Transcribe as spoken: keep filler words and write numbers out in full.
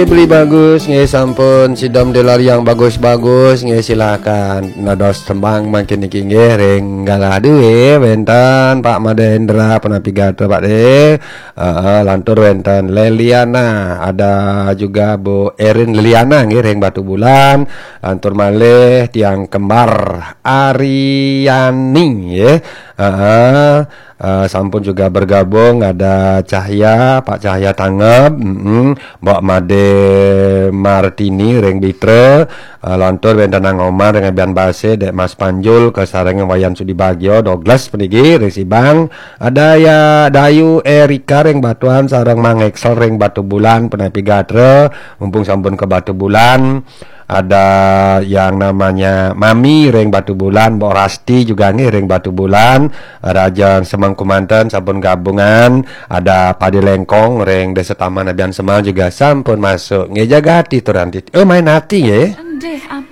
Beli bagus nggih, sampun sidom dolar yang bagus-bagus nggih, silakan. Nados tembang mangkin niki nggih, ring galah duwe wenten Pak Madendra, punapi gatra Pak De. Heeh, lantur wenten Leliana, ada juga Bu Erin Leliana nggih, ring Batubulan. Lantur malih tiang kembar Ariani nggih. Heeh. Eh, sampun juga bergabung, ada Cahya, Pak Cahya Tangeb, mm-mm, Mbok Made Martini ring Bitra, eh, lantur wenten Nang Omar ring Abian Base, Dek Mas Panjul, kasarengin Wayan Sudibagio, Douglas puniki ring Sibang, ada ya Dayu Erika ring Batuan, sareng Mang Excel ring Batubulan, punapi gatra, mumpung sampun ka Batubulan, ada yang namanya Mami ring Batubulan, Mbok Rasti juga nggih ring Batubulan, Raja Semeng Kumanten sampun gabungan, ada Padi Lengkong ring Desa Taman Abian Semar juga sampun masuk. Nggih, jaga ati tur anti. Eh, main ati nggih. Ndih, am-